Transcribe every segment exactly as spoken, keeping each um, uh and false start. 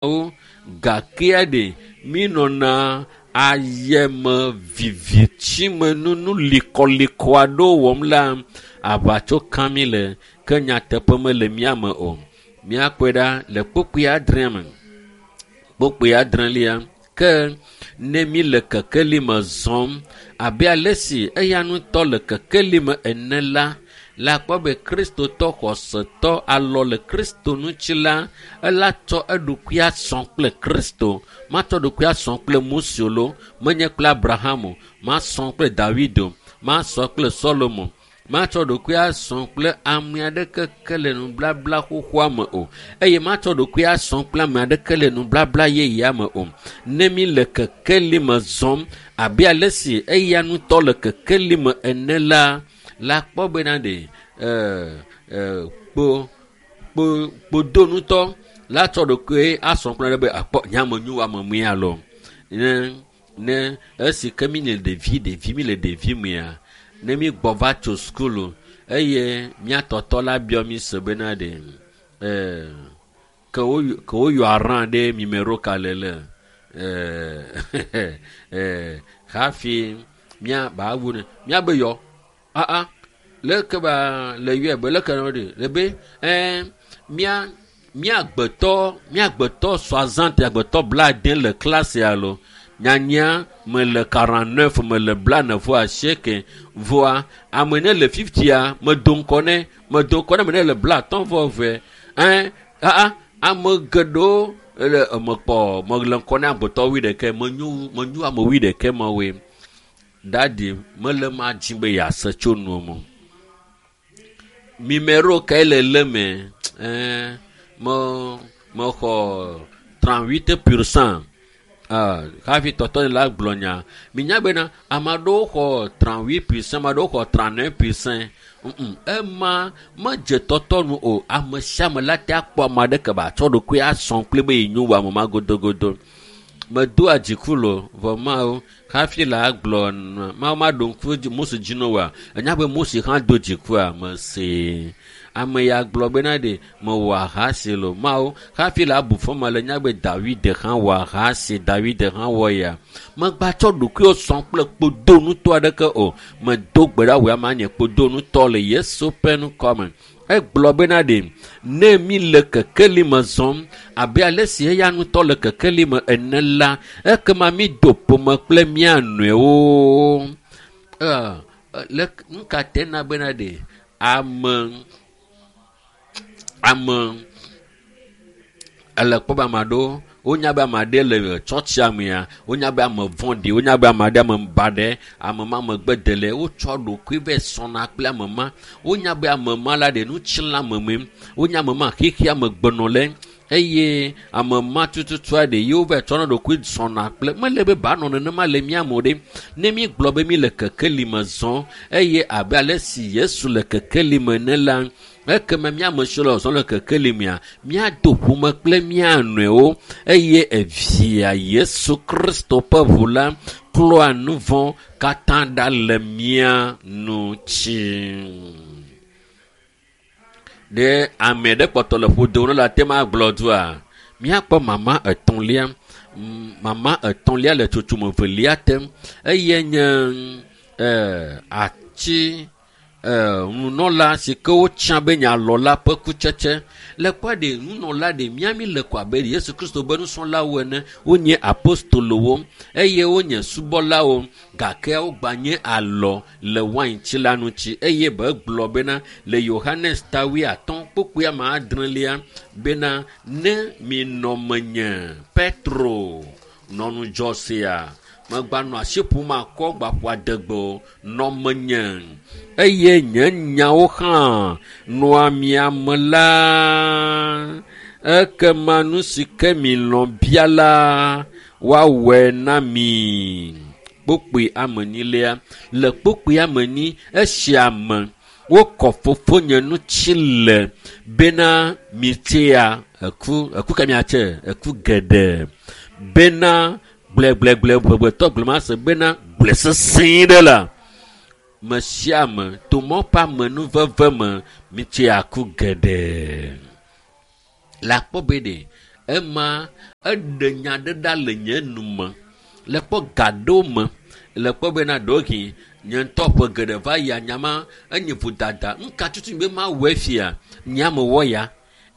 Mawu gakea ɖe mi nɔna ayeme vivitsimenu likɔlikɔ aɖewo wɔm la aʋatso kam mi le ke nyateƒe mele mía me o. Míakpɔe ɖa le kpukpui adrea me. Kpukpui adrelia ke ne mi le kekeli me zɔm abe ale si eya ŋutɔ le kekeli me ene la, le akpɔ be kristotɔ xɔsetɔ alɔ le kristo ŋuti la ela tsɔ eɖokui asɔ kple kristo matsɔ ɖokui asɔ kple mose lo menye kple abraham o masɔ kple david o masɔ kple solomo matsɔ ɖokui asɔ kple ame aɖeke ke le nublabla xoxoa me o eye matsɔ ɖokui asɔ kple ame aɖeke le nublabla yeyea me o ne mi le kekeli me zɔm abe ale si eya ŋutɔ le kekeli me ene la la kpɔ bena ɖe ɛɛ ɛɛ kpo kpo kpodonutɔ la tsɔ ɖokui asɔ kple ɖe be akpɔ nyame nyo ame mía lɔ ne ne esi ke mi le ɖevi ɖevi mi le ɖevi mea ne mi gbɔ va tso sukulu eye mía tɔtɔ la biɔ mi se bena ɖe ɛɛ ke wo ke woyɔ arã ɖe mimero ka le le ɛɛ ɛɛ hafi mía ba wu ne mía be yɔ aa leke ba le yɔe be leke ne ɖe le be ɛɛ mía mía agbetɔ mía agbetɔ soixante agbetɔ blaade le klasi alo nyanya me le quarante neuf me le blaene vɔ asieke vɔa ame ne le fiftia me do ŋkɔ ne me do ŋkɔ ne me ne le blatɔ̃ vɔ eve ɛɛ aa ame geɖewo le eme kpɔ me le ŋkɔ ne agbetɔ wuiɖekɛ menyo menyo ame wuiɖekɛ mawoe dadi mele ma dzi be yease tso nuo me mimero kae le le me ɛɛ me mexɔ trente-huit pourcent hafi tɔtɔ la gblɔ nya minya bena ame aɖewo xɔ trente-huit pourcent ame aɖewo xɔ trente-neuf pourcent ema medze tɔtɔ nu o ame sia ame la te akpɔ ame aɖeke ba tsɔ ɖokui asɔ kple be yenyo wu ame ma godogodo medoa dziku lo vɔ mawo hafi la gblɔ mawo ma ɖo ŋku Mose dzi no wa enya be Mose hã do dzikua mese ame ya gblɔ bena ɖe mewɔ ahasi lo mawo hafi la bu fɔma le nya be David hã wɔ ahasi David hã wɔ ya megba tsɔ ɖokuiwo sɔ kple kpodonutɔ aɖeke o medo gbe ɖa wò ama nye kpodonutɔ le Yesu ƒe ŋkɔ me. Egblɔ bena ɖe ne mi le kekeli me zɔm abe ale si eya ŋutɔ le kekeli me ene la ekema mi do ƒome kple mía nɔewo. Ɛɛ le nu ka te na bena ɖe ame ame ele kpɔ be ame aɖewo wonya be ame aɖe le tsɔtsia mea wonya be ame vɔ̃ɖi wonya be ame aɖe ame baɖe ame ma megbedele wotsɔ ɖokui vɛ sɔna kple ame ma wonya be ame ma la ɖe nutsila ame me wonya ame ma xexea me gbenɔ le eye ame ma tututua ɖe yewo vɛ tsɔna ɖokui sɔna kple mele be ba nɔ nenema le mía me o ɖe ne mi gblɔ be mi le kekeli me zɔm eye abe ale si Yesu le kekeli me ene la ekema mía ame siwo le zɔzɔm le kekeli mea míado ƒome kple mía nɔewo eye evia Yesu Kristo ƒe ʋu la klɔa nu vɔ̃ katã ɖa le mía ŋuti. Ɖe ame ɖe kpɔtɔ le ƒodo ne la te ma gblɔ dua míakpɔ mama etɔ̃lia mama etɔ̃lia le tsotsome velia te eye nye ɛɛ ati ɛɛ nunɔla si ke wotsã be nye alɔ la ƒe kutsetse le kpɔ ɖe nunɔla ɖe míami le ko abe Yesu Kristo be nusrɔ̃lawo ene wonye apostolowo eye wonye subɔlawo gake wogba nye alɔ le waintsi la ŋuti eye be gblɔ bena le Yohanes ta wuiatɔ̃ kpukpui ame adrelia bena ne minɔ menye Petro nɔ ŋudzɔ sia megba nɔ asi ƒom akɔ gba ƒo adegbe o nɔ menye eye nye nyawo hã nɔa mia me la ekema nu si ke milɔ̃ bia la woawɔe na mi. Kpukpui ame enyilia le kpukpui ame enyi esia me wokɔ fofonye ŋuti le bena mitsea eku eku ka miatse eku geɖe bena gblẽgblẽgblẽ ʋeʋetɔ gblẽ ma se bena gblẽ sesẽ ɖe la me sia ame to mɔ ƒe amenuveve me mitsea ku geɖe. Le akpɔ be ɖe Ema eɖe nya ɖe ɖa le nye nu me. Le kpɔ ga ɖewo me. Le kpɔ bena ɖewohĩ nye ŋutɔ ƒe geɖe va yia nyama enye vodada. Nuka tutu be mawɔe fia? Nye mewɔ ya.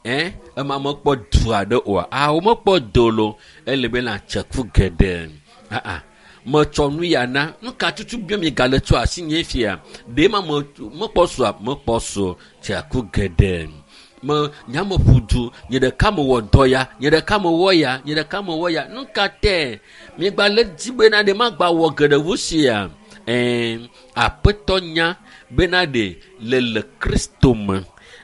Ɛ ema mekpɔ du aɖe oa? Awo mekpɔ do lo. Ele be na tseku geɖe. Aa metsɔ nu ya na. Nuka tutu be mi gale tso asi nye fia? Ɖe ma me mekpɔ sua? Mekpɔ su tseku geɖe. Me nyame ƒu du. Nye ɖeka mewɔ dɔ ya. Nye ɖeka mewɔ ya. Nye ɖeka mewɔ ya. Nuka tɛ? Miegba le dzi bena ɖe magba wɔ geɖe wu sia? Ɛɛ aƒetɔ nya bena ɖe le le Kristo me.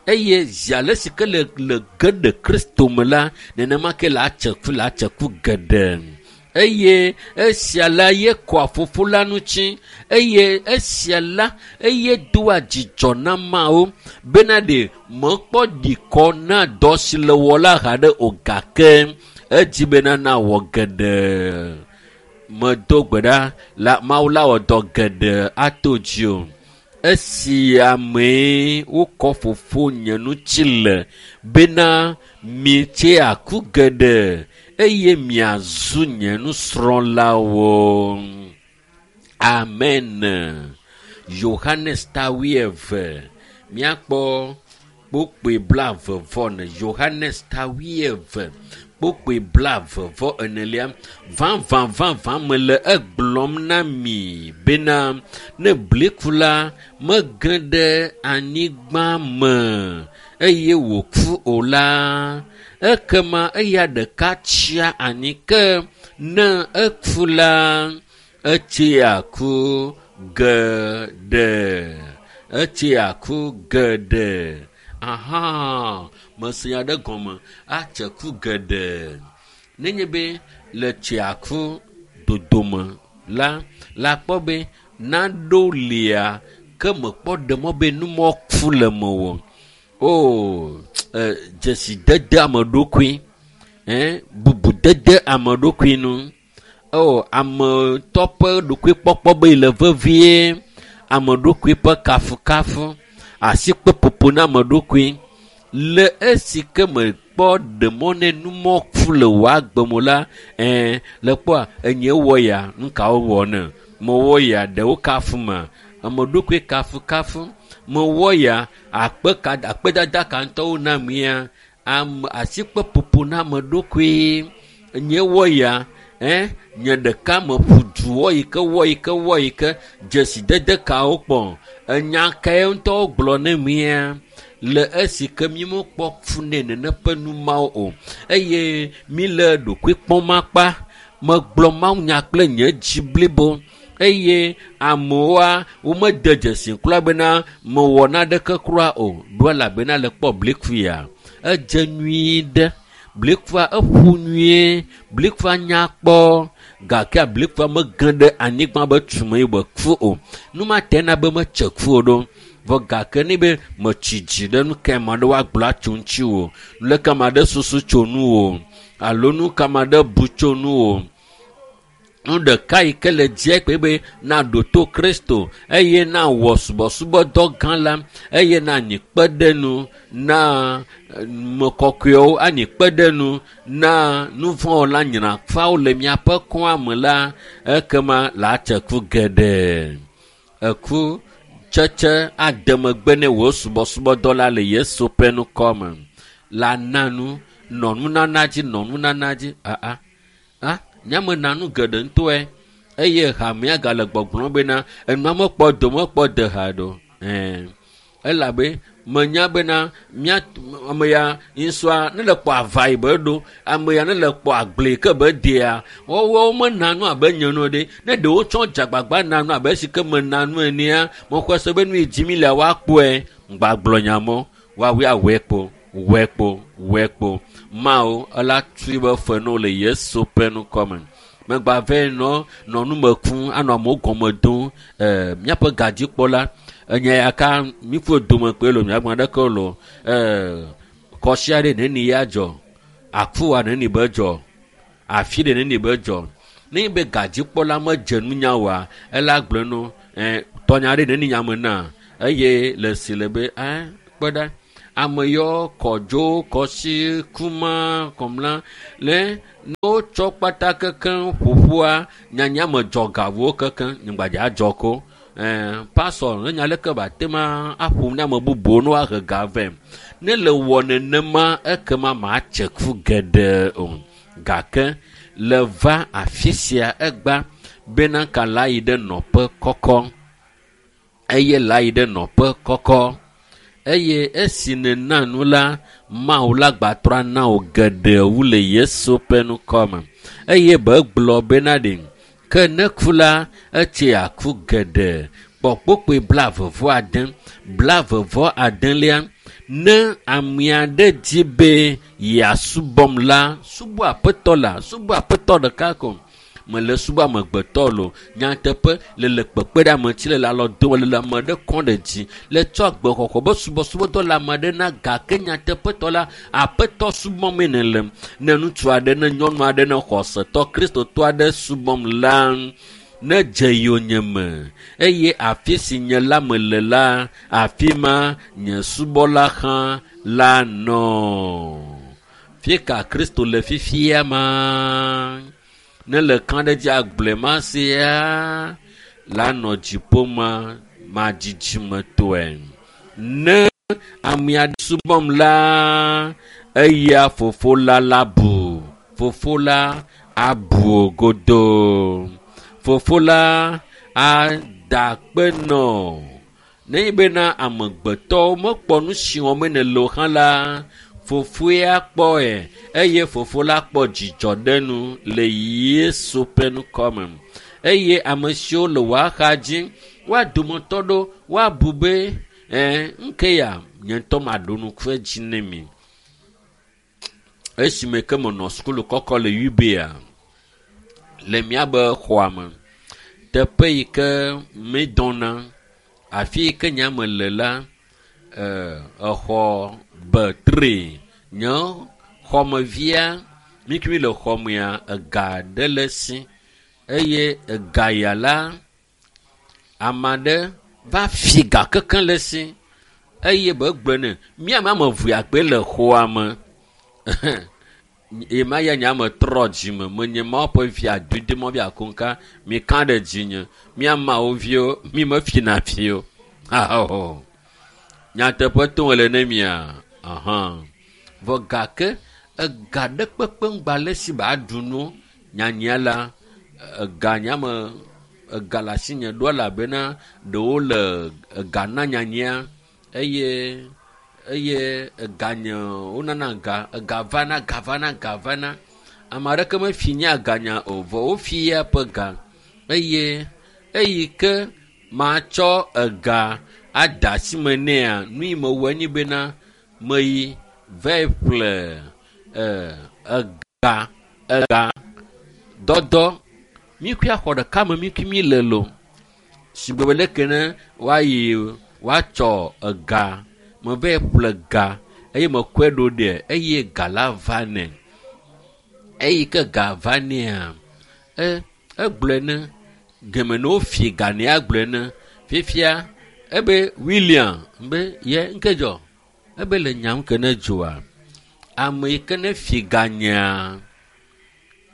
Eye zi ale si ke le le ge ɖe Kristo me la, nenema ke le atseku le atseku geɖe. Eye esia la ye kɔa fofo la ŋuti. Eye esia la eye doa dzidzɔ na Mawu bena ɖe mekpɔ ɖikɔ na dɔ si le wɔ la haɖe o gake edzi bena na wɔ geɖe. Medo gbe ɖa la Mawu la wɔ dɔ geɖe ato dzi o. Esi amee wokɔ fofo nye ŋuti le bena mietse aku geɖe eye miazu nye nusrɔ̃lawo. Amen. Yohanes ta wuieve. Míakpɔ kpukpui blaeve vɔ ene. Yohanes ta wuieve kpukpui blaeve vɔ enelia. Vavã vavã mele egblɔm na mi bena ne bliku la mege ɖe anyigba me eye wòku o la, ekema eya ɖeka tsia anyi ke ne eku la, etsia ku geɖe. Etsia ku geɖe. Aha, mese nya ɖe gɔme atse ku geɖe. Nenye be le tsia ku dodome la, la kpɔ be naɖo lia ke mekpɔ ɖe mɔ be numɔ ku le mewò. O, e, dzesidede ame ɖokui, ɛ, bubudede ame ɖokui nu. O, ame tɔ ƒe ɖokuikpɔkpɔ be le vevie, ame ɖokui ƒe kafukafu, asikpeƒoƒo na ame ɖokui. Le esi ke mekpɔ ɖe mɔ ne numɔ ku le wò agbe me la, ɛ, le kpɔa enye wɔ ya, nu kawo wɔ ne? Mewɔ ya, ɖewo kafu ma. Ame ɖokui kafukafu. Mewɔ ya, akpe ka, akpedada ka ŋutɔwo na mía. Ame, asikpeƒoƒo na ame ɖokui. Nye wɔ ya, ɛ, nye ɖeka meƒu du wɔ yi ke wɔ yi ke wɔ yi ke dzesidede kawo kpɔ. Enya kae ŋutɔwo gblɔ ne mía? Le esi ke mi mekpɔ fu nɛ nene ƒe nu mawo o. Eye mi le ɖokui kpɔm akpa. Megblɔ mawunya kple nye dzi blibo. Eye amewoa womede dzesi kura bena mewɔ naneke kura o. Ɖo elabena le kpɔ blikuya. Edze nyuie ɖe. Blikua eƒu nyuie. Blikua nya kpɔ. Gake blikua mege ɖe anyigba be tume yi wòku o. Nu ma te na be metse ku o ɖo. Vɔ gake ne be metsi dzi ɖe nu ka ame aɖewo agblɔ atso ŋuti o. Leke ame aɖe susu tso nu o. Alo nu ka ame aɖe bu tso nu o. Nu ɖeka yi ke le dzia kpe be naɖo to Kristo eye nawɔ subɔsubɔdɔ gã la eye nanyi kpe ɖe nu na me kɔkɔewo anyi kpe ɖe nu na nuvɔ̃wɔla nyrafawo le miaƒe kɔa me la ekema le atse ku geɖe. Eku tsetse ade megbe ne wò subɔsubɔdɔ la le Yesu ƒe ŋkɔ me. La na nu, nɔ nunana dzi, nɔ nunana dzi. Aa, a, nyamena nu geɖe ŋutɔe eye hamea gale gbɔgblɔm bena enua mekpɔ do mekpɔ de ha ɖo. Ɛɛ, elabe menya bena mía ame ya ŋusua ne le kpɔ ava yi be ɖo, ame ya ne le kpɔ agble yi ke be dea, woawo mena nu abe nye nu ɖe. Ne ɖewo tsɔ dzagbagba na nu abe esi ke mena nu enea, mexɔe se be nu yi dzi mi le woakpɔe. Ŋgbagblɔ nya mɔ, woawoe awɔe kpo, wɔe kpo, wɔe kpo. Mawu ela tui be fe no le Yesu ƒe ŋkɔ me. Megba vɛ nɔ nɔ nu me kum anɔ amewo gɔme dom. Ɛɛ, míaƒe gadzikpɔla enye ya ka míƒe dome kpe lo miagblɔ ɖeke lo. Ɛɛ, kɔsi aɖe neni ya dzɔ, akuwa neni be dzɔ, afi ɖe neni be dzɔ. Ne be gadzikpɔla medze nunya oa, ela gblɔ no, ɛɛ, tɔnya ɖe neni nya me na eye le si le be, ɛɛ, kpɔ ɖa. Ame yɔ kɔdzo, kɔsi, kuma, kɔmla le ne wotsɔ kpata kekeŋ ƒoƒua nyanya me dzɔ gawo kekeŋ nyigbadza adzɔ ko. Ɛɛ pasɔ ne nya leke ba te ma aƒo ne ame bubuwo ne woahe ga vɛ. Ne le wɔ nenema ekema matse ku geɖe o. Gake le va afi sia egba bena ka la yi ɖe nɔƒe kɔkɔ. Eye la yi ɖe nɔƒe kɔkɔ. Eye esi nena nu la, Mawu la gbatrɔ na wò geɖe wu le Yesu ƒe ŋkɔme. Eye be gblɔ bena ɖe ke ne ku la, etse aku geɖe. Kpɔ kpokpoe blaeve vɔ ade, blaeve vɔ adelia. Ne ame aɖe di be yeasubɔm la, subɔ aƒetɔ la, subɔ aƒetɔ ɖeka ko. Mele subɔ amegbetɔ lo. Nyateƒe le le kpekpe ɖe ame ŋuti le le alɔ dom le le ame ɖe kɔm ɖe dzi le tsɔ agbexɔxɔ be subɔsubɔdɔ le ame aɖe na gake nyateƒetɔ la aƒetɔ subɔmee nèle. Ne ŋutsu aɖe ne nyɔnu aɖe ne xɔsetɔ kristotɔ aɖe subɔm la ne dze yonyeme eye afi si nye la mele la afi ma nye subɔla hã la nɔ. Fika Kristo le fifia ma? Ne le kã ɖe dzi agblɔe ma sia la nɔ dziƒo ma madzidzimetɔe. Ne ame aɖe subɔm la, eya fofo la la bu. Fofo la abu godoo. Fofo la ada akpe nɔ. Nenye bena amegbetɔwo mekpɔ nu si wɔm nèle o hã la, fofoa kpɔe eye fofo la kpɔ dzidzɔ ɖe nu le Yesu ƒe ŋkɔme. Eye ame siwo le wò axa dzi, woa dometɔ ɖewo woabu be ɛɛ ŋke ya nye ŋutɔ maɖo ŋku edzi ne mi. Esime ke menɔ sukulu kɔkɔ le Ubia le míabe xɔa me, teƒe yi ke mídɔna, afi yi ke nye ame le la, ɛɛ exɔ be tri nye xɔmevia mi kemi le xɔmea ega ɖe le si eye ega ya la ame aɖe va fi ga kekeŋ le si eye be gblɔe nɛ míame ame eve akpe le xɔa me. Ema ya nye ame trɔ dzime menye Mawu ƒe vi adodo mɔ vi akonka mi ka ɖe dzinye míamawo viwo mi mefina fi o. Aho. Nyateƒe tom le ne mia. Aha. Vɔ gake ega ɖe kpekpe ŋgba le si ba ɖu nu nyanya la ega nyame ega le asinye ɖo elabena ɖewo le ega na nyanya eye eye ega nye wonana ga ega vana ga vana ga vana. Ame aɖeke mefi nye ganya o vɔ wofi ya ƒe ga eye eyi ke matsɔ ega ada asi me nɛa nu yi mewɔe nye bena meyi va ƒle ega ega dɔdɔ mi kui axɔ ɖeka me mi kui mi le lo. Sigbe be leke ne woayi woatsɔ ega meva ƒle ga eye mekɔe ɖo ɖe eye ga la va nɛ. Eyi ke ga va nɛa e egblɔe ne geme ne wofi ga nɛ agblɔe ne fifia ebe William be ye ŋke dzɔ ebe le nyam ke ne dzoa ame yi ke ne fi ga nyea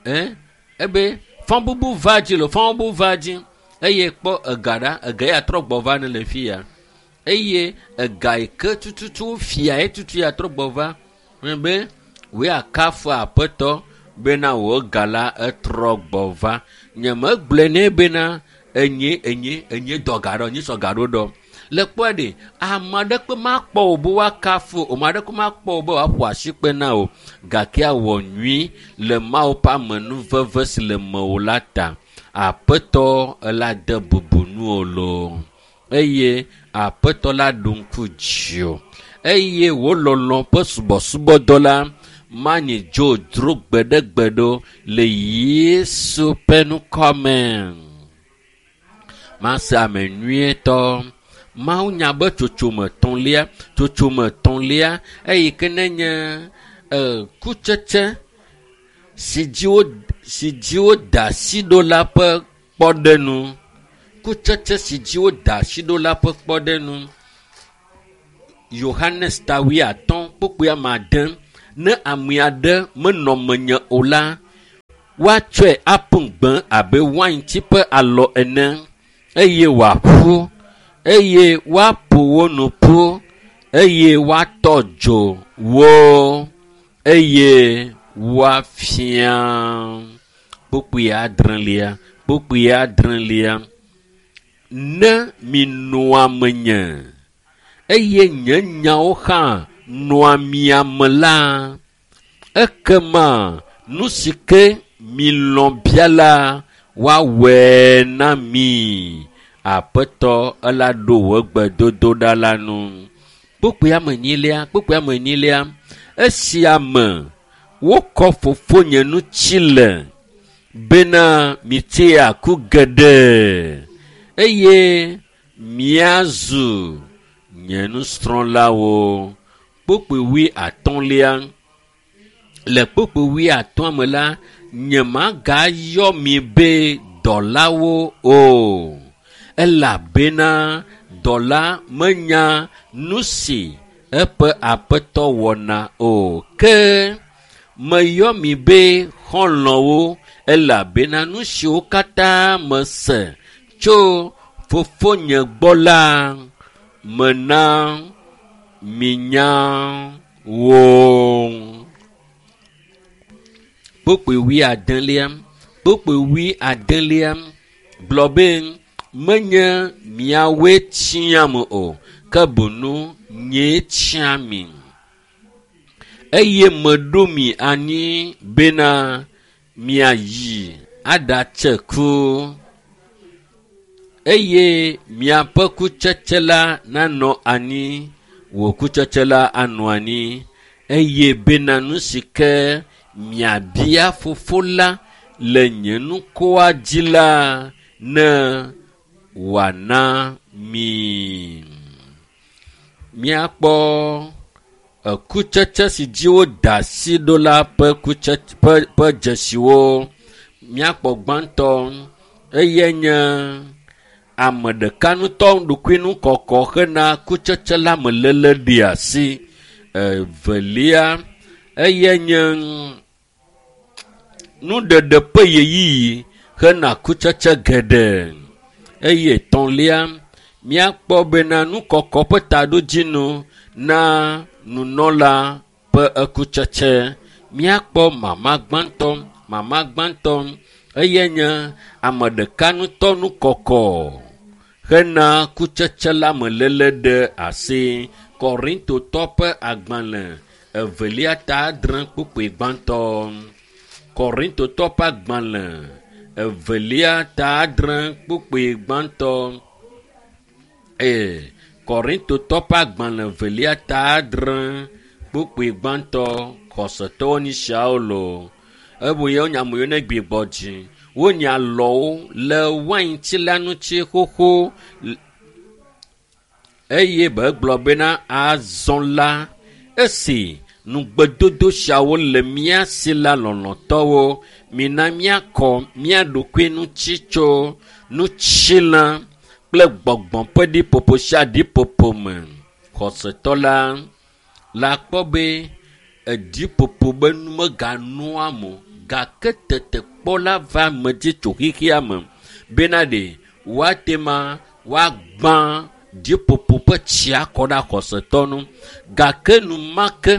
e ebe fɔbubu va dzi le fɔbubu va dzi eye kpɔ ega ɖa ega ya trɔ gbɔ va ne le fi ya eye ega yi ke tututu fia ye tutu ya trɔ gbɔ va be wòe akafu aƒetɔ bena wò ga la etrɔ gbɔ va. Nyemegblɔe nɛ bena enye enye enye dɔ ga ɖɔ, nye sɔ ga ɖo ɖɔ. Le kpɔe ɖe ame aɖeke makpɔ wò be woakafu o, ame aɖeke makpɔ wò be woaƒo asikpe na wò gake awɔ nyui le Mawu ƒe amenuveve si le mewò la ta. Aƒetɔ ela de bubu nuwò loo eye aƒetɔ la ɖo ŋku dziwò eye wò lɔlɔ̃ ƒe subɔsubɔdɔ la manyi dzodzro gbeɖegbeɖe le Yesu ƒe ŋkɔme. Mase ame nyuietɔ. Mawu nya be tsotsome etɔ̃lia, tsotsome etɔ̃lia eyi ke nenye e kutsetse si dzi wo si dzi woda asi ɖo la ƒe kpɔɖenu. Kutsetse si dzi woda asi ɖo la ƒe kpɔɖenu. Yohanes ta wuiatɔ̃ kpukpui ame ade ne ame aɖe menɔ menye o la, woatsɔe aƒu gbe abe wainti ƒe alɔ ene eye wòaƒu eye woaƒo wo nu ƒu eye woatɔ dzo wo eye woafia. Kpukpui adrelia kpukpui adrelia ne minɔa menye eye nye nyawo hã nɔa mia me la, ekema nu si ke milɔ̃ bia la woawɔe na mi. Aƒetɔ ela ɖo wò gbedodoɖa la nu. Kpukpui ame enyilia kpukpui ame enyilia esia me wokɔ fofonye ŋuti le bena mitia ku geɖe eye miazu nye nusrɔ̃lawo. Kpukpui wuiatɔ̃lia le kpukpui wuiatɔ̃a me la nyemagayɔ mi be dɔlawo o elabena dɔla menya nu si eƒe aƒetɔ wɔna o ke meyɔ mi be xɔlɔ̃wo elabena nu siwo katã mese tso fofonye gbɔ la mena minya wo. Kpukpui wuiadelia kpukpui wuiadelia gblɔ be menye miawoe tsiam o ke boŋ nyee tsia mi eye meɖo mi anyi bena miayi aɖatse ku eye miaƒe kutsetse la nanɔ anyi wò kutsetse la anɔ anyi eye bena nu si ke miabia fofo la le nye ŋkɔa dzi la ne wòana mi. Míakpɔ ekutsetse si dzi woda asi ɖo la ƒe kutsetse ƒe ƒe dzesiwo. Míakpɔ gbãtɔ eye nye ame ɖeka ŋutɔ ɖokuinukɔkɔ hena kutsetse la me léle ɖe asi. Evelia eye nye nuɖeɖe ƒe ɣeyiɣi hena kutsetse geɖe eye etɔ̃lia míakpɔ bena nukɔkɔ ƒe taɖodzinu na nunɔla ƒe ekutsetse. Míakpɔ mama gbãtɔ mama gbãtɔ eye nye ame ɖeka ŋutɔ nukɔkɔ hena kutsetse la me léle ɖe asi. Korintotɔ ƒe agbalẽ evelia ta adre kpukpui gbãtɔ. Korintotɔ ƒe agbalẽ evelia ta adre kpukpui gbãtɔ. Ee, Korintotɔ ƒe agbalẽ evelia ta adre kpukpui gbãtɔ xɔsetɔwo nyi siawo loo. Eye wonya ame yiwo ne gbigbɔ dzi. Wonye alɔwo le wainti la ŋuti xoxo eye be gblɔ bena azɔ la esi nugbedodo siawo le mía si la lɔlɔ̃tɔwo mina míakɔ mía ɖokui ŋuti tso nutsilã kple gbɔgbɔ ƒe ɖiƒoƒo sia ɖiƒoƒo me. Xɔsetɔ la la kpɔ be eɖiƒoƒo be nu meganɔa me o gake tetekpɔ la va ame dzi tso xexea me bena ɖe woate ma woagbã ɖiƒoƒo ƒe tsia kɔ ɖe xɔsetɔ nu gake enumake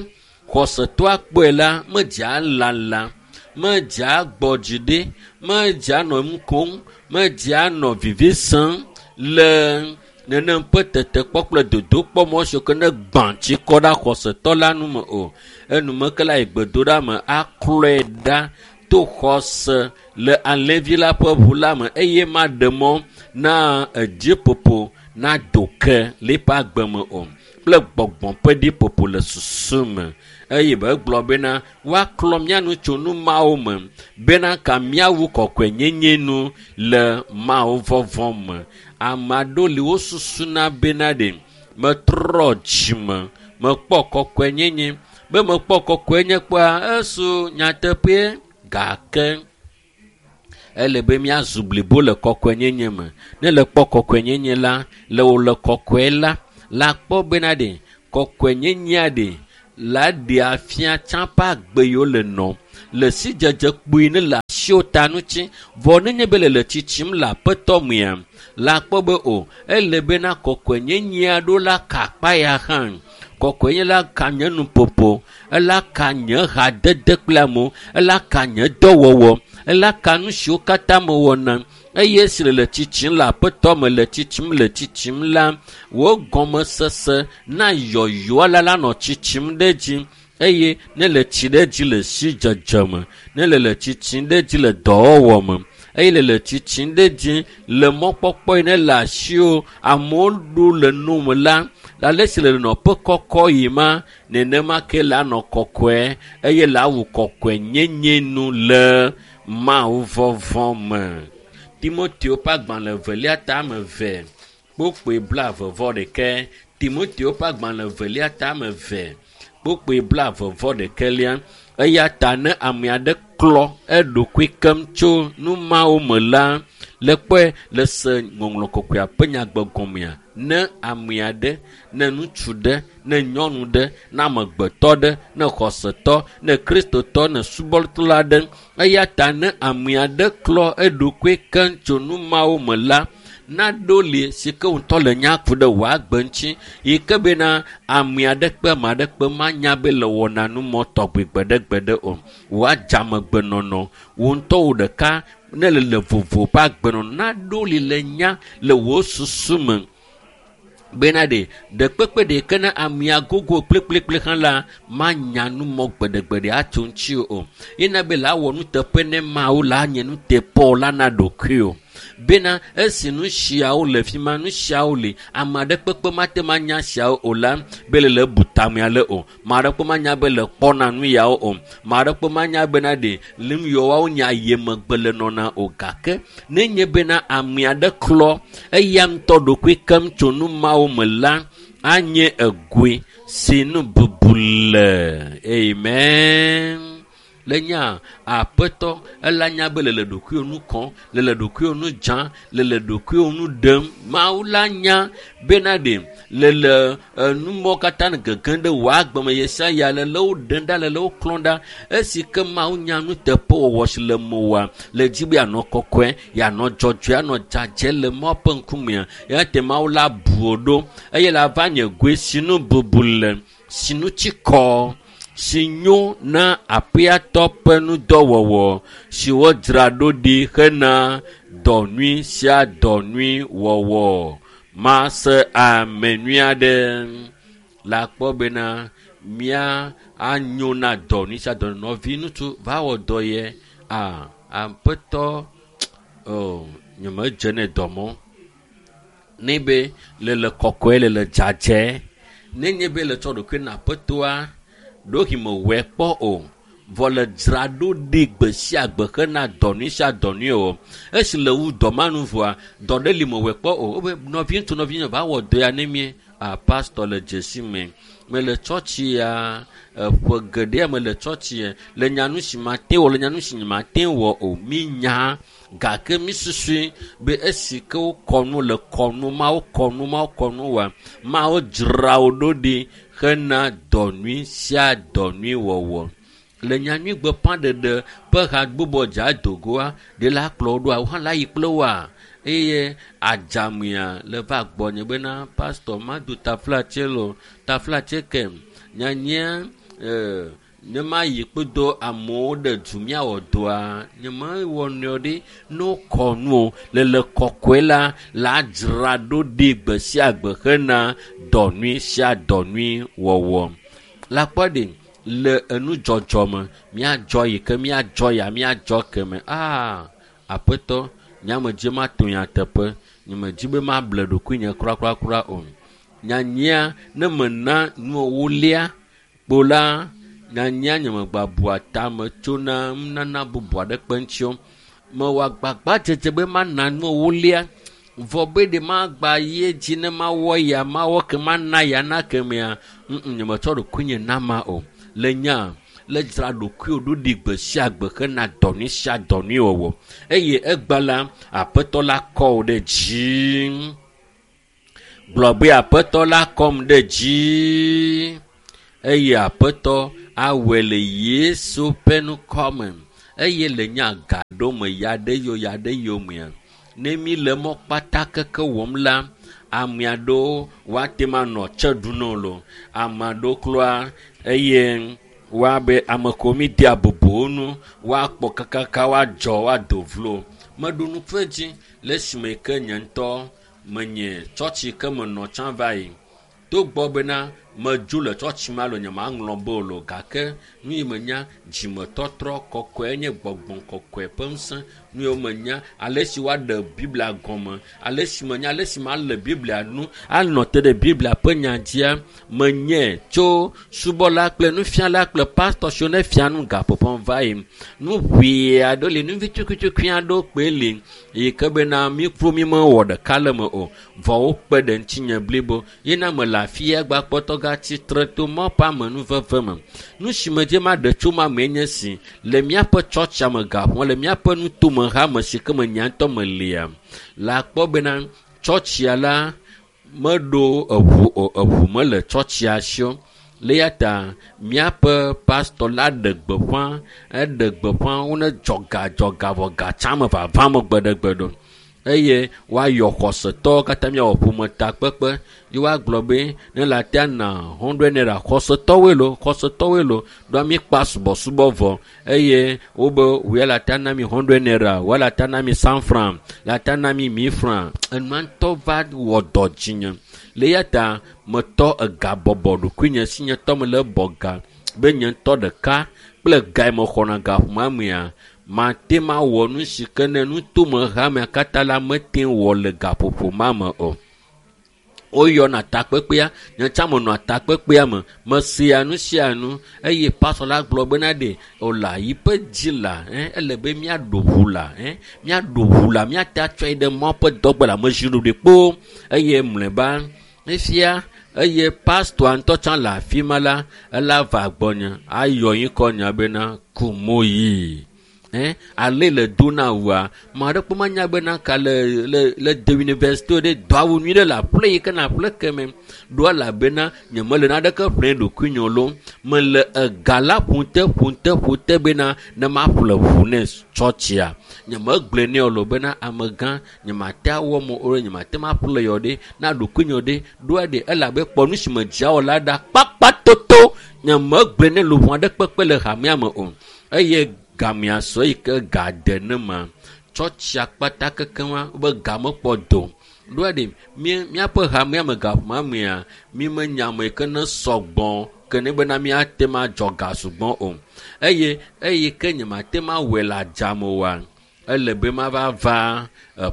xɔsetɔa kpɔe la medzea lala medzea gbɔ dzi ɖi medzea nɔ nu kom medzea nɔ vivi sem le nenem ƒe tetekpɔ kple dodokpɔ mɔ siwo ke ne gbã tsi kɔ ɖe xɔsetɔ la nu me o. Enumeke la yi gbedoɖa me aklɔe ɖa to xɔse le alẽvi la ƒe ʋu la me eye maɖe mɔ na edziƒoƒo nado ke le eƒe agbe me o kple gbɔgbɔ ƒe ɖiƒoƒo le susu me eye be gblɔ bena woaklɔ mía nu tso nu mawo me bena ka míawu kɔkɔenyenye nu le Mawu vɔvɔ̃ me. Ame aɖewo li wosusuna bena ɖe metrɔ dzime mekpɔ kɔkɔenyenye be mekpɔ kɔkɔenye kpɔa esu nyateƒee gake ele be míazu blibo le kɔkɔenyenye me. Ne le kpɔ kɔkɔenyenye la le wò le kɔkɔe la la kpɔ bena ɖe Kɔkɔenyenyea ɖe la ɖe afia tsã ƒe agbe yiwo le nɔ le sidzedze kpui ne le asiwo ta ŋuti. Vɔ nenye be le le tsitsim le aƒetɔ mea, la kpɔ be o ele bena kɔkɔenyenyea ɖo la ka akpa ya hã. Kɔkɔenye la ka nye nuƒoƒo, ela ka nye hadede kple amewo, ela ka nye dɔwɔwɔ, ela ka nu siwo katã mewɔna. Eye esi le le tsitsim le aƒetɔ me le tsitsim le tsitsim la, wo gɔmesese na yɔyɔa la la nɔ tsitsim ɖe edzi. Eye ne le tsi ɖe edzi le sidzedze me, ne le le tsitsim ɖe edzi le dɔwɔwɔ me, eye le le tsitsim ɖe edzi le mɔkpɔkpɔ yi ne le asiwo amewo ɖo le nu me la, ale si le nɔƒe kɔkɔ yi ma, nenema ke la nɔ kɔkɔe eye la wu kɔkɔe nyenye nu le Mawu vɔvɔ me. Timoteo ƒe agbalẽ evelia tame eve kpokpoe blaeve vɔ ɖeke. Timoteo ƒe agbalẽ evelia tame eve kpokpoe blaeve vɔ ɖekelia. Eya ta ne ame aɖe klɔ eɖokui keŋ tso nu mawo me la, le kpɔe le se ŋɔŋlɔ kɔkɔea ƒe nyagbe gɔmea, ne ame aɖe, ne ŋutsu ɖe, ne nyɔnu ɖe, ne amegbetɔ ɖe, ne xɔsetɔ, ne kristotɔ, ne subɔla ɖe, eya ta ne ame aɖe klɔ eɖokui keŋ tso nu mawo me la, naɖo li si ke ŋutɔ le nya ku ɖe wòagbe ŋuti yi ke bena ame aɖe kpe ame aɖe kpe manya be le wɔna nu mɔ tɔgbi gbeɖegbeɖe o. Wòadzamegbenɔnɔ wò ŋutɔ wò ɖeka ne le le vovo ƒe agbenɔnɔ naɖo li le nya le wò susu me bena ɖe ɖekpekpe ɖeke ne amea gogo kplikplikpli hã la manya nu mɔ gbeɖegbeɖe atso ŋuti o. Yina be la wɔ nuteƒe ne Mawu la nye nuteƒewɔla la na ɖokui o. Bena esi nu siawo le fi ma, nu siawo li, ame aɖe kpekpe mate ma nya siawo o la, be le le bu tamea le o. Ame aɖe kpe manya be le kpɔna nu yawo o. Ame aɖe kpe manya bena ɖe le nu yawo nya ye megbe le nɔna o. Gake nenye bena ame aɖe klɔ eya ŋutɔ ɖokui keŋ tso nu mawo me la, anye egoe si nu bubu le. Amen. Le nya aƒetɔ ela nya be le le ɖokuiwo nu kɔm, le le ɖokuiwo nu dzam, le le ɖokuiwo nu ɖem. Mawu la nya bena ɖe le le enumɔwo katã ne gegem ɖe wò agbe me ɣe sia ɣi le le wo ɖem ɖa, le le wo klɔm ɖa. Esi ke Mawu nya nuteƒewɔwɔ si le mewòa, le dzi be yeanɔ kɔkɔe, yeanɔ dzɔdzɔe, anɔ dzadzɛ le Mawu ƒe ŋkumea. Eya ta Mawu la bu wò ɖo eye la va nye goe si nu bubu le, si nu tsi kɔ, si nyo na aƒeatɔ ƒe nudɔwɔwɔ si wodzra ɖo ɖi hena dɔ nyui sia dɔ nyui wɔwɔ. Mase ame nyui aɖe la kpɔ bena mía anyo na dɔ nyui sia dɔ nyui. Nɔvi ŋutsu va wɔ dɔ ye a aƒetɔ o nyemedze ne dɔ mɔ. Ne be le le kɔkɔe le le dzadzɛ. Nenye be le tsɔ ɖokui na aƒetɔa, ɖohi mewɔe kpɔ o. Vɔ le dzra ɖo ɖi gbe sia gbe hena dɔ nyui sia dɔ nyui o. Esi le wu dɔ ma nu vɔa, dɔ ɖe li mewɔe kpɔ o. Wobe nɔvi ŋutsu nɔvi nyɔnu va wɔ dɔ ya ne mie. A pastor le dzesi me. Mele tsɔtsi ya eƒe geɖea mele tsɔtsi ya le nya nu si mate wɔ le nya nu si mate wɔ o. Mi nya gake mi susui be esi ke wokɔ nu le kɔnu mawo kɔnu mawo kɔnu wa mawo dzra wo ɖo ɖi hena dɔ nyui sia dɔ nyui wɔwɔ. Le nyanyui gbeƒãɖeɖe ƒe hagbobɔ dza dogoa, ɖe la kplɔ wo ɖoa, wo hã la yi kple woa. Eye adzamea le va gbɔnye bena pastor mado taflatse lo, taflatse ke nyanyia e, ne mayi kpedo amewo ɖe du míawɔ dɔa, nye mewɔ nɔewo ɖi ne wokɔ nu o. Le le kɔkɔe la, la dzra ɖo ɖi gbe sia gbe hena dɔ nyui sia dɔ nyui wɔwɔ. La kpɔ ɖi le enudzɔdzɔ me, míadzɔ yi ke míadzɔ ya míadzɔ ke me. Aa, aƒetɔ, nyamedzi mato nyateƒe, nyemedzi be mable ɖokuinye kurakurakura o. Nyanyia ne mena nuwo lia kpo la, nyanyia nyemegba bua tame tsona nunana bubu aɖeke ŋuti o. Mewɔ agbagbadzedze be mana nuwo lia, vɔ be ɖe magba yi edzi ne mawɔ ya, mawɔ ke mana ya na kemea, ŋŋ, nyemetsɔ ɖokuinye na ma o. Le nya le dzra ɖokuiwò ɖo ɖi gbe sia gbe hena dɔ nyui sia dɔ nyui wɔwɔ. Eye egba la, aƒetɔ la kɔ wò ɖe dzi. Gblɔ be aƒetɔ la kɔm ɖe dzi eye aƒetɔ awɔe le Yesu ƒe ŋkɔ me. Eye le nye agaɖo me ya ɖe yo ya ɖe yomea, ne mi le mɔ kpata keke wɔm la, ame aɖewo woate ma nɔ tse ɖum na wo lo. Ame aɖewo kloa eye woabe ame ko mi dea bubu wo ŋu, woakpɔ kakaka woadzɔ woado vlo. Meɖu nuƒe dzi le esime ke nye ŋutɔ menye tsɔtsi ke menɔ tsã va yi. Togbɔ bena medzo le tsɔtsi ma lo nyemaŋlɔ be o lo gake nu yi menya dzimetɔtrɔ kɔkɔe nye gbɔgbɔ kɔkɔe ƒe ŋusẽ. Nu yiwo menya ale si woaɖe Biblia gɔme, ale si menya ale si male Biblia nu anɔ te ɖe Biblia ƒe nya dzia, menye tso subɔla kple nufiala kple pastɔ siwo ne fia nu gaƒoƒo va yi. Nu ʋee aɖewo li, nu vi tukui aɖewo kpoe li yi ke bena mi kplo mi mewɔ ɖeka le me o. Vɔ wokpe ɖe ŋutinye blibo. Ye na mele afi ya gba kpɔtɔ gatsi tre to mɔ ƒe amenuveve me. Nu si me dze maɖe tso ma mee nye si le míaƒe tsɔtsia me gaƒoa le míaƒe nutome hame si ke me nya ŋutɔ melia la kpɔ bena tsɔtsia la meɖo eʋu o, eʋu mele tsɔtsia si o. Le ya ta míaƒe pastɔ la ɖe gbeƒã, eɖe gbeƒã wone dzɔga dzɔga vɔ gatsa me vava me gbeɖegbe ɖo. Eye woayɔ xɔsetɔwo katã miawɔ ƒometakpekpe ye woagblɔ be ne le atea na hundred naira xɔsetɔwoe lo, xɔsetɔwoe lo, ɖoa míkpa subɔsubɔ vɔ eye wobe woya le atea na mi hundred naira, woya le atea na mi cent franc, le atea na mi mille franc. Enua ŋutɔ va wɔ dɔ dzinye. Le ya ta metɔ ega bɔbɔ ɖokuinye si nye tɔ mele bɔ ga be nye ŋutɔ ɖeka kple ga yi mexɔna gaƒoƒoa mea mate ma wɔ nu si ke ne nutome hamea katã la mete wɔ le gaƒoƒo ma me o. Woyɔna takpekpea, nye tsã menɔa takpekpea me, mesea nu sia nu eye pastɔ la gblɔ bena ɖe wòle yiƒe dzi la, eh, ele be míaɖo ʋu la, eh, míaɖo ʋu la, míate atsɔe ɖe mɔ ƒe dɔgbe le ame zi ɖoɖoe kpoo eye mlɔeba efia eye pastɔa ŋutɔ tsã le afi ma la, ela va gbɔnye ayɔ ŋkɔ nya bena Kumoyi. Eh, ale le do na wua, ame aɖe kpɔ manya bena ka le le le de université ɖe do awu nyui ɖe le aƒle yi ke na aƒle ke me. Ɖo elabena nye mele naneke ƒle ɖokuinye lo. Mele ega la ƒote ƒote ƒote bena ne maƒle ʋu ne tsɔtsia. Nye megblɔe nɛ o lo bena amegã nye mate awɔ mo o, nye mate maƒle yɔ ɖe na ɖokuinye ɖe. Ɖoa ɖe elabe kpɔ nu si me dzia wɔ la ɖa kpakpatoto. Nye megblɔe nɛ luʋɔ aɖe kpekpe le hamea me o. Eye gamea sɔ yi ke ga de ne ma tsɔtsia kpata kekeŋua be ga mekpɔ do. Ɖoa ɖe mía míaƒe hamea me gaƒoƒoa mea mi menya ame yi ke ne sɔgbɔ ke ne bena míate ma dzɔ ga sugbɔ o. Eye eye ke nye mate ma wɔe le adzame oa, ele be mava va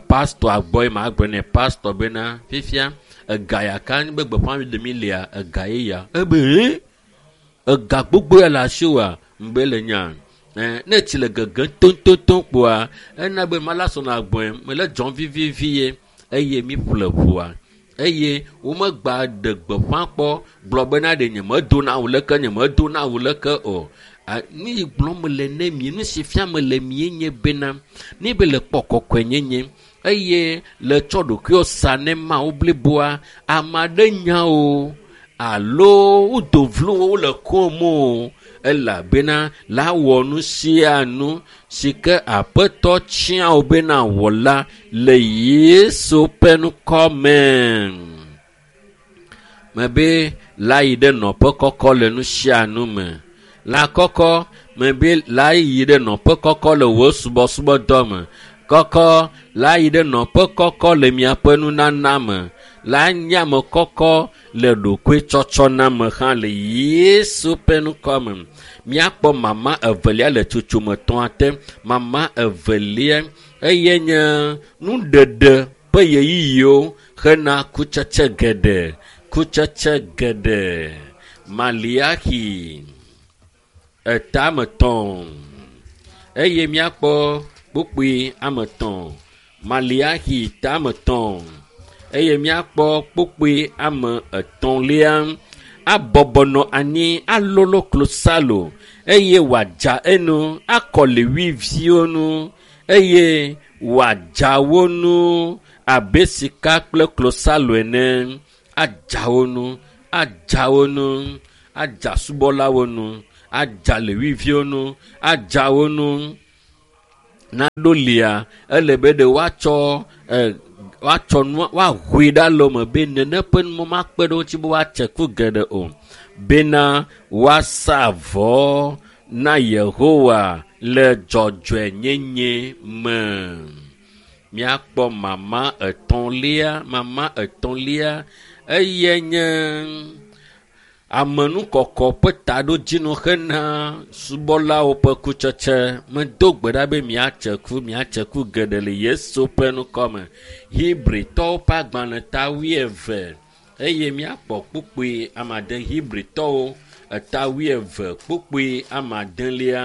pastɔa gbɔ ye magblɔ nɛ pastɔ bena fifia ega ya ka be gbeƒã ɖe mi lia ega ye ya. Ebe hẽ ega gbogbo ya le asiwòa ŋgbe le nya. Eh, ne tsi le gegem toŋtoŋtoŋ kpoa, ena be mala sɔna gbɔe, mele dzɔm vivivi ye eye mi ƒle ʋua. Eye womegba ɖe gbeƒã kpɔ gblɔ bena ɖe nye medona awu leke, nye medona awu leke o. Nu yi gblɔm mele ne mi, nu si fia mele mie nye bena, ne be le kpɔ kɔkɔenyenye eye le tsɔ ɖokuiwo sa ne Mawu bliboa, ame aɖe nya o alo wodo vlo wo le kom o. Elabena la wɔ nu sia nu si ke aƒetɔ tia wo bena wɔ la le Yesu ƒe ŋkɔ me. Mebe la yi ɖe nɔƒe kɔkɔ le nu sia nu me. La kɔkɔ mebe la yi ɖe nɔƒe kɔkɔ le wò subɔsubɔdɔ me. Kɔkɔ la yi ɖe nɔƒe kɔkɔ le miaƒe nunana me. La nye ame kɔkɔ le ɖokuitsɔtsɔ na me hã le Yesu ƒe ŋkɔ me. Míakpɔ mama evelia le tsotsome etɔ̃a te. Mama evelia eye nye nuɖeɖe ƒe ɣeyiɣiwo hena kutsetse geɖe. Kutsetse geɖe. Maliaxi eta ame etɔ̃ eye míakpɔ kpukpui ame etɔ̃. Maliaxi ta ame etɔ̃ eye míakpɔ kpukpui ame etɔ̃lia. Abɔbɔ nɔ anyi alolo klosalo eye wòadza enu akɔ lewiviwo nu eye wòadza wo nu abe sika kple klosalo ene. Adza wo nu, adza wo nu, adza subɔlawo nu, adza lewiviwo nu, adza wo nu. Naɖo lia, ele be ɖe woatsɔ e, woatsɔ nua woahoe ɖe alɔme be nene ƒe numɔ makpe ɖe wo ŋuti be woatse ku geɖe o. Bena woasa vɔ na Yehowa le dzɔdzɔenyenye me. Míakpɔ mama etɔ̃lia, mama etɔ̃lia eye nye amenukɔkɔ ƒe taɖodzinu hena subɔlawo ƒe kutsetse. Medo gbe ɖa be miatse ku, miatse ku geɖe le Yesu ƒe ŋkɔme. Hebritɔwo ƒe agbalẽ ta wuieve eye míakpɔ kpukpui amade Hebritɔwo eta wuieve kpukpui amadelia.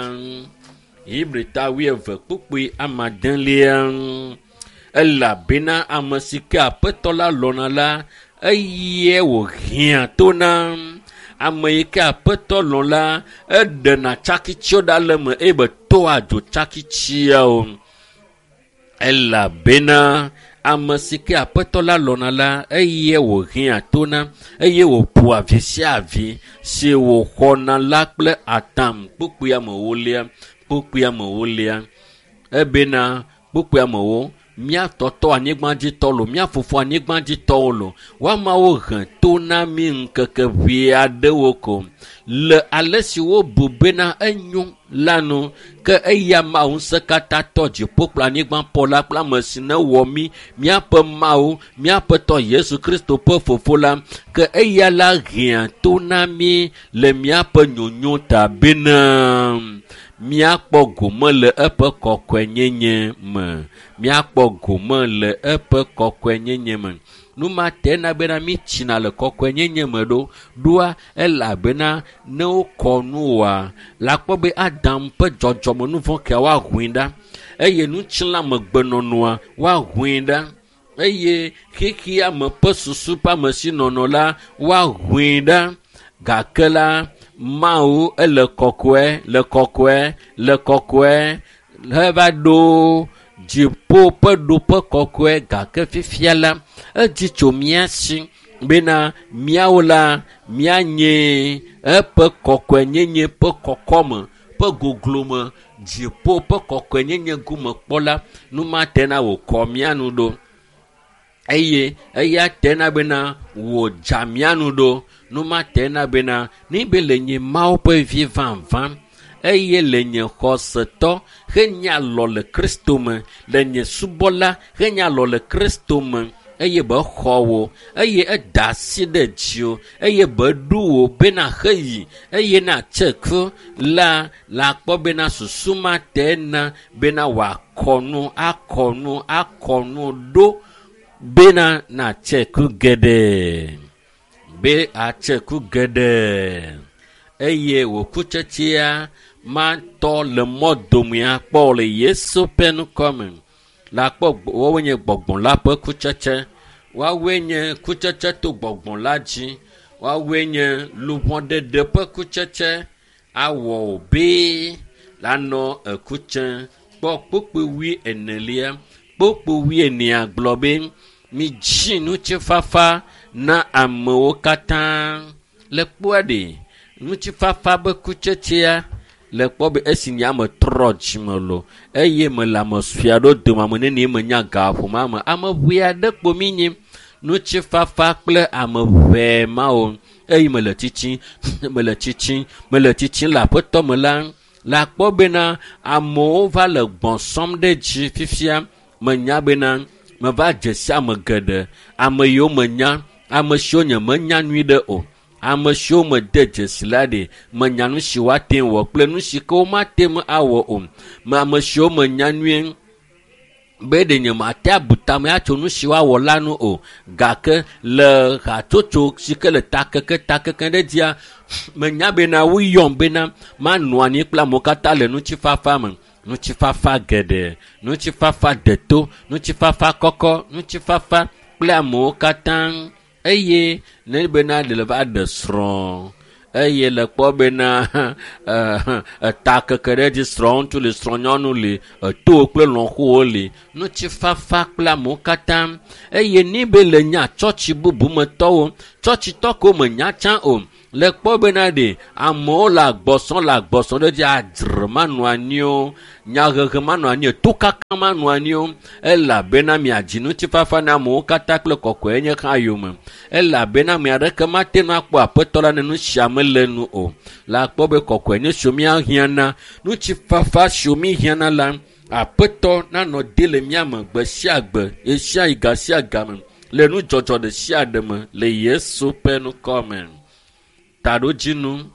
Hebri ta wuieve kpukpui amadelia. Elabena ame si ke Aƒetɔ la lɔ̃na la, eye wòhiã to na. Ame yi ke Aƒetɔ lɔ̃ la, eɖena tsakitsiwo ɖa le eme eye be toa dzo tsakitsiawo. Elabena ame si ke Aƒetɔ la lɔ̃na la, eye wòhiã to na eye wòƒoa vi sia vi si wòxɔna la kple atam. Kpukpui amewolia, kpukpui amewolia. Ebena kpukpui amewo, mía tɔtɔ anyigbadzitɔ lo, mía fofo anyigbadzitɔwo lo, woamawo he to na mí ŋkeke ʋee aɖewo ko le ale si wobu bena enyo la nu. Ke eya Mawu ŋusẽkatãtɔ dziƒo kple anyigba ƒo la kple ame si ne wɔ mí, míaƒe Mawu, míaƒe tɔ Yesu Kristo ƒe fofo la, ke eya la hiã to na mí le míaƒe nyonyo ta bena míakpɔ gome le eƒe kɔkɔenyenye me. Míakpɔ gome le eƒe kɔkɔenyenye me. Nu ma te na bena mítsina le kɔkɔenyenye me ɖo. Ɖoa elabena ne wokɔ nu oa, la kpɔ be Adam ƒe dzɔdzɔmenuvɔ̃ kea woahoe ɖa eye ŋutilãmegbenɔnɔa woahoe ɖa eye xexea me ƒe susu ƒe amesinɔnɔ la woahoe ɖa. Gake la, Mawu ele kɔkɔe, le kɔkɔe, le kɔkɔe heva ɖo dziƒo ƒe ɖoƒe kɔkɔe. Gake fifia la, edzi tso mía si bena míawo la míanye eƒe kɔkɔenyenye ƒe kɔkɔme ƒe goglome dziƒo ƒe kɔkɔenyenye gome kpɔla. Nu ma te na wòkɔ mía nu ɖo eye eya te na bena wòdza mía nu ɖo. Nu ma te na bena ne be le nye Mawu ƒe vi vavã eye le nye xɔsetɔ henye alɔ le Kristo me, le nye subɔla henye alɔ le Kristo me eye be xɔ wò eye eda asi ɖe dziwò eye be ɖu wò bena heyi eye natse ku la, la kpɔ bena susu ma te na bena wòakɔ nu, akɔ nu, akɔ nu ɖo bena natse ku geɖe. Be atse ku geɖe eye wò kutsetsea matɔ le mɔ domea kpɔ le Yesu ƒe ŋkɔme. La kpɔ woawoe nye gbɔgbɔ la ƒe kutsetse. Woawoe nye kutsetse to gbɔgbɔ la dzi. Woawoe nye luʋɔɖeɖe ƒe kutsetse. Awɔ wò be lanɔ ekutse. Kpɔ kpukpui wui enelia. Kpukpui wui enea gblɔ be midzi ŋutifafa na amewo katã. Le kpɔa ɖe, ŋutifafa be kutsetsea le kpɔ be esi nye ame trɔ dzime lo eye mele ame sue aɖewo dome ame nenie menya gaƒoƒo me ame ʋee aɖe kpo mi nyi ŋutifafa kple ame ʋee mawo eye mele tsitsim, mele tsitsim, mele tsitsim le aƒetɔ me la, la kpɔ bena amewo va le gbɔsɔm ɖe dzi fifia. Menya bena meva dze si ame geɖe, ame yiwo menya, ame siwo nye menya nyui ɖe o, ame siwo mede dzesi la ɖe, menya nu si woate ŋu wɔ kple nu si ke womate ŋu awɔ o. Me ame siwo menya nyuie be ɖe nye mate abu tame atso nu si woawɔ la nu o. Gake le hatsotso si ke le takeke takeke ɖe dzia, menya bena woyɔm bena manɔ anyi kple amewo katã le ŋutifafa me. Ŋutifafa geɖe, ŋutifafa deto, ŋutifafa kɔkɔ, ŋutifafa kple amewo katã. Eye ne bena ɖe le va ɖe srɔ̃ eye le kpɔ bena eta keke ɖe dzi srɔ̃ŋutsu li srɔ̃nyɔnu li etowo kple lɔ̃xowo li ŋutifafa kple amewo katã eye ni be le nya tsɔtsi bubu me tɔwo tsɔtsitɔ ko menya tsã o le kpɔ bena ɖe amewo le agbɔsɔ le agbɔsɔ ɖe dzi adzre manɔ anyi o nyahehe manɔ anyi o tokaka manɔ anyi o elabena miadzi ŋutifafa na amewo katã kple kɔkɔe nye hã yome elabena ame aɖeke mate ŋu akpɔ aƒetɔ la ne nu sia mele nu o le akpɔ be kɔkɔe nye siwo míahiãna ŋutifafa siwo míhiãna la aƒetɔ nanɔ de le mía me gbe sia gbe ɣesia ɣi ga sia game le nudzɔdzɔ ɖe sia ɖe me le Yesu ƒe ŋkɔ me. Taɖodzinu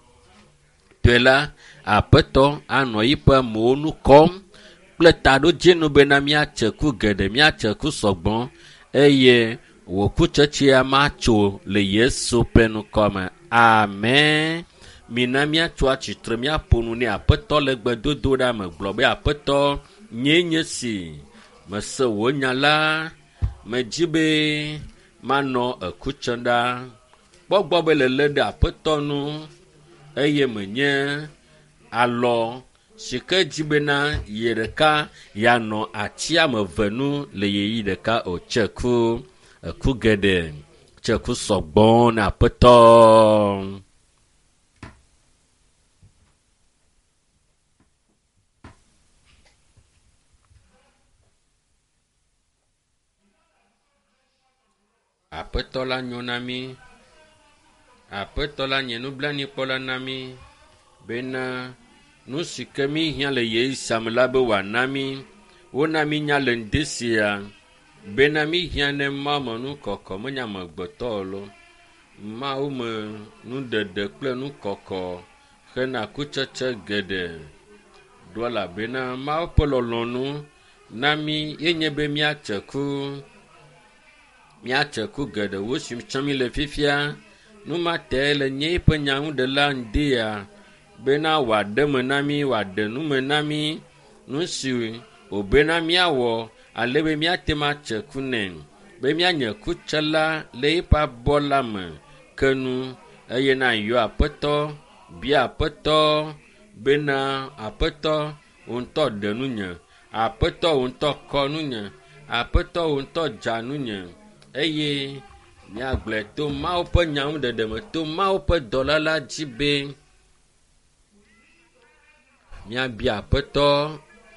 tɔe la aƒetɔ anɔ yiƒe amewo nu kɔm kple taɖodzinu bena míatse ku geɖe míatse ku sɔgbɔ eye wò kutsetsea matso le Yesu ƒe ŋkɔ me. Amen. Mina míatso atsitre míaƒo nu nɛ aƒetɔ le gbedodoɖa me gblɔ be aƒetɔ nyee nye si mese wò nya la medzi be manɔ eku tsem ɖa. Kpɔ gbɔ be lelé ɖe aƒetɔ nu eye menye alɔ si ke dzi bena ye ɖeka yeanɔ ati ame eve nu le ɣeyiɣi ɖeka o. Tse ku, eku geɖe, tse ku sɔgbɔ na aƒetɔ. Aƒetɔ la nyo na mí. Aƒetɔ la nye nublanuikpɔla na mí bena nu si ke míhiã le ɣeyiɣi sia me la be wòana mí. Wona mínya le ŋdi sia bena míhiã ne Mawu me nukɔkɔ menye amegbetɔ o loo. Mawu me nuɖeɖe kple nukɔkɔ hena kutsetse geɖe ɖo elabena Mawu ƒe lɔlɔ̃nu na mí yenye be míatse ku. Míatse ku geɖe wu si tsem míle fifia. Nu ma tae le nye eƒe nyanuɖela ŋdi ya bena wòaɖe me na mí, wòaɖe nu me na mí nu si wòbena míawɔ ale be míate ŋu atse ku nɛ be míanye kutsela le eƒe abɔ la me ke nu eye na yɔ aƒetɔ bia aƒetɔ bena aƒetɔ wò ŋutɔ ɖe nunye aƒetɔ wò ŋutɔ kɔ nunye aƒetɔ wò ŋutɔ dza nunye eye míagblɔe to Mawu ƒe nyanuɖeɖe me to Mawu ƒe dɔla la dzi be míabia aƒetɔ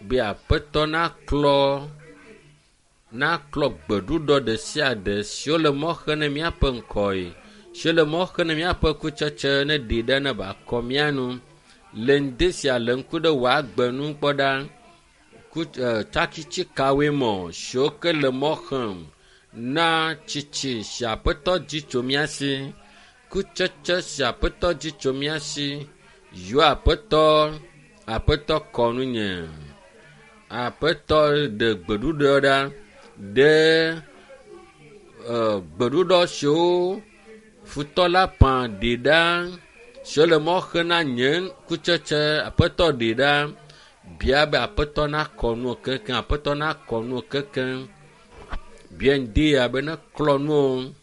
be aƒetɔ naklɔ naklɔ gbeɖuɖɔ ɖe sia ɖe siwo le mɔ xem ne míaƒe ŋkɔe siwo le mɔ xem ne míaƒe kutsetse ne ɖi ɖe ne wòakɔ mía nu le ŋdi sia le ŋku ɖe wò agbe nu kpɔ ɖa ku tsakitsi kawoe mɔ siwo ke le mɔ xem na tsitsi si aƒetɔ dzi tso mía si kutsetse si aƒetɔ dzi tso mía si yɔ aƒetɔ aƒetɔ kɔ nunye aƒetɔ ɖe gbeɖuɖɔ ɖa ɖe gbeɖuɖɔ siwo futɔ la ƒã ɖi ɖa siwo le mɔ xem na nye kutsetse aƒetɔ ɖi ɖa bia be aƒetɔ nakɔ nuwo keŋkeŋ aƒetɔ nakɔ nuwo keŋkeŋ bia ŋdi ya be neklɔ nuwo.